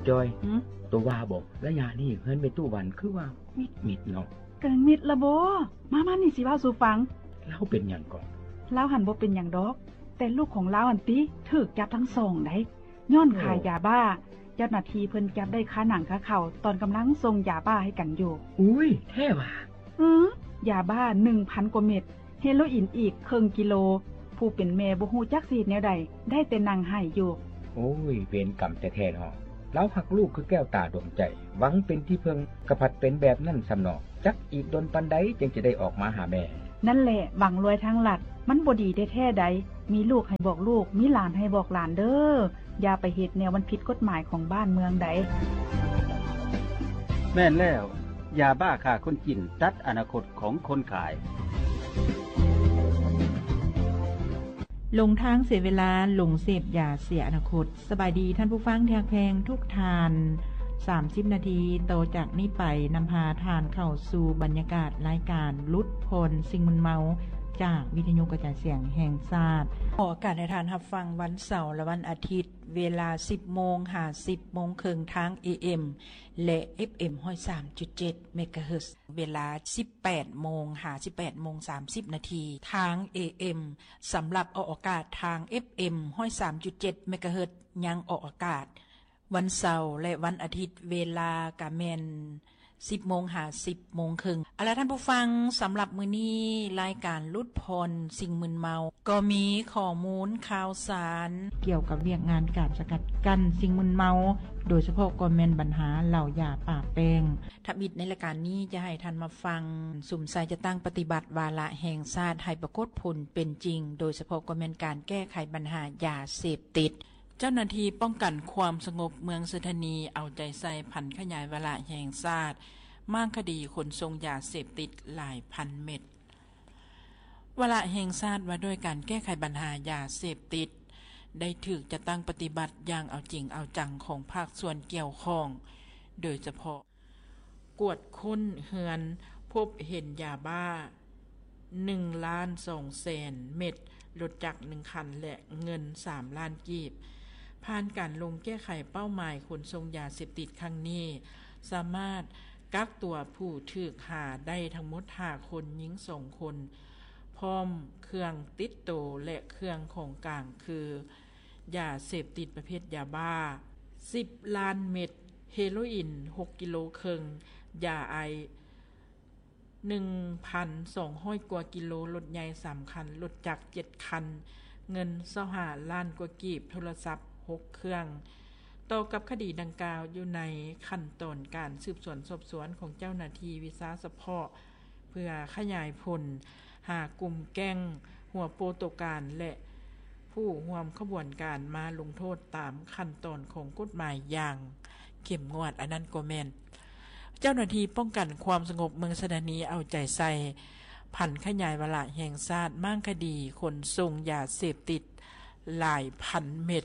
ຈອຍ ຫື? ໂຕວ່າບໍ ໄລຍະນີ້ເຮືອນແມ່ຕູ້ວັນຄືວ່າມິດໆເນາະ. ກະມິດລະບໍ? ມາໆ ນີ້ຊິເວົ້າສູ່ຟັງ. ລາວເປັນຫຍັງເກາະ? ລາວຫັ້ນບໍ່ເປັນຫຍັງດອກ, ແຕ່ລູກຂອງລາວຫັ້ນຕິ ຖືກຈັບທັງສອງໃດ໋ ຍ້ອນຂາຍຢາບ້າ. ໂອ້ ເຈົ້າໜ້າທີ່ເພິ່ນຈັບໄດ້ຄາໜັງຄາເຂົ້າ ຕອນກຳລັງສົ່ງຢາບ້າໃຫ້ກັນຢູ່. ອຸ້ຍ ແທ້ຫວາ? ອື ຢາບ້າໜຶ່ງພັນກວ່າເມັດ, ເຮໂລອີນອີກເຄິ່ງກິໂລ. ຜູ້ເປັນແມ່ບໍ່ຮູ້ຈັກຊິເຮັດແນວໃດ, ໄດ້ແຕ່ນັ່ງໄຫ້ຢູ່. ໂອ້ຍ ເວນກຳແທ້ໆເນາະ. ລາວຮັກລູກຄືແກ້ວຕາດວງໃຈ, ຫວັງເປັນທີ່ເພິ່ງ, ກະພັດເປັນແບບນັ້ນຊ້ຳເນາະ. ຈັກອີກດົນປານໃດຈຶ່ງຈະໄດ້ອອກມາຫາແມ່. ນັ້ນແຫຼະ ຫວັງລວຍທາງລັດ, ມັນບໍ່ດີແທ້ໆໃດ. ມີລູກໃຫ້ບອກລູກ, ມີຫຼານໃຫ້ບອກຫຼານເດີ້. ຢ່າໄປເຮັດແນວມັນຜິດກົດໝາຍຂອງບ້ານເມືອງໃດ. ແມ່ນແລ້ວ, ຢາບ້າຂ້າຄົນກິນ ຕັດອະນາຄົດຂອງຄົນຂາຍ. ຫຼົງທາງເສຍເວລາ, ຫຼົງເສບຢາເສຍອະນາຄົດ. ສະບາຍດີທ່ານຜູ້ຟັງທີ່ຮັກແພງທຸກທ່ານ. ສາມສິບນາທີຕໍ່ຈາກນີ້ໄປ ນຳພາທ່ານເຂົ້າສູ່ບັນຍາກາດລາຍການຫຼຸດຜ່ອນສິ່ງມຶນເມົາ ຈາກວິທະຍຸກະຈາຍສຽງແຫ່ງຊາດ. ອອກອາກາດໃຫ້ທ່ານຮັບຟັງວັນເສົາ ແລະ ວັນອາທິດ ເວລາສິບໂມງຫາສິບໂມງເຄິ່ງ ທາງ ເອເອັມ ແລະ ເອັຟເອັມ ຮ້ອຍສາມຈຸດເຈັດ ເມກາເຮີດ, ເວລາສິບແປດໂມງຫາສິບແປດໂມງສາມສິບນາທີ ທາງ ເອເອັມ. ສຳລັບອອກອາກາດທາງ ເອັຟເອັມ ຮ້ອຍສາມຈຸດເຈັດ ເມກາເຮີດ ຍັງອອກອາກາດວັນເສົາ ແລະ ວັນອາທິດ, ເວລາກະແມ່ນສິບໂມງຫາສິບໂມງເຄິ່ງ. ເອົາລະທ່ານຜູ້ຟັງ, ສຳລັບມື້ນີ້ລາຍການຫຼຸດຜ່ອນສິ່ງມຶນເມົາ ກໍມີຂໍ້ມູນຂ່າວສານກ່ຽວກັບວຽກງານການສະກັດກັ້ນສິ່ງມຶນເມົາ, ໂດຍສະເພາະກໍແມ່ນບັນຫາເຫຼົ້າຢາປາແປ້ງ. ທຳອິດໃນລາຍການນີ້ຈະໃຫ້ທ່ານມາຟັງ ສຸມໃສ່ຈັດຕັ້ງປະຕິບັດວາລະແຫ່ງຊາດໃຫ້ປາກົດຜົນເປັນຈິງ, ໂດຍສະເພາະກໍແມ່ນການແກ້ໄຂບັນຫາຢາເສບຕິດ. ເຈົ້າໜ້າທີ່ປ້ອງກັນຄວາມສະຫງົບເມືອງໄຊທານີເອົາໃຈໃສ່ຜັນຂະຫຍາຍວາລະແຫ່ງຊາດມ້າງຄະດີຂົນສົ່ງຢາເສບຕິດຫຼາຍພັນເມັດ. ວາລະແຫ່ງຊາດວ່າດ້ວຍການແກ້ໄຂບັນຫາຢາເສບຕິດ ໄດ້ຖືກຈັດຕັ້ງປະຕິບັດຢ່າງເອົາຈິງເອົາຈັງຂອງພາກສ່ວນກ່ຽວຂ້ອງ, ໂດຍສະເພາະ ກວດຄົ້ນເຮືອນ ພົບເຫັນຢາບ້າໜຶ່ງລ້ານສອງແສນເມັດ, ລົດຈັກໜຶ່ງຄັນ ແລະ ເງິນສາມລ້ານກີບ. ຜ່ານການລົງແກ້ໄຂເປົ້າໝາຍຂົນສົ່ງຢາເສບຕິດຄັ້ງນີ້, ສາມາດກັກຕົວຜູ້ຖືກຫາໄດ້ທັງໝົດຫ້າຄົນ, ຍິງສອງຄົນ, ພ້ອມເຄື່ອງຕິດໂຕ ແລະ ເຄື່ອງຂອງກາງຄື ຢາເສບຕິດປະເພດຢາບ້າສິບລ້ານເມັດ, ເຮໂລອີນຫົກກິໂລເຄິ່ງ, ຢາໄອສ໌ໜຶ່ງພັນສອງຮ້ອຍກວ່າກິໂລ, ລົດໃຫຍ່ສາມຄັນ, ລົດຈັກເຈັດຄັນ, ເງິນຊາວຫ້າລ້ານກວ່າກີບ, ໂທລະສັບຫົກເຄື່ອງ. ຕໍ່ກັບຄະດີດັ່ງກ່າວ ຢູ່ໃນຂັ້ນຕອນການສືບສວນສອບສວນຂອງເຈົ້າໜ້າທີ່ວິຊາສະເພາະ ເພື່ອຂະຫຍາຍຜົນຫາກຸ່ມແກ້ງຫົວໂປໂຕການ ແລະ ຜູ້ຮ່ວມຂະບວນການມາລົງໂທດຕາມຂັ້ນຕອນຂອງກົດໝາຍຢ່າງເຂັ້ມງວດ. ອັນນັ້ນກໍແມ່ນເຈົ້າໜ້າທີ່ປ້ອງກັນຄວາມສະຫງົບເມືອງໄຊທານີເອົາໃຈໃສ່ຜັນຂະຫຍາຍວາລະແຫ່ງຊາດມ້າງຄະດີຂົນສົ່ງຢາເສບຕິດຫຼາຍພັນເມັດ.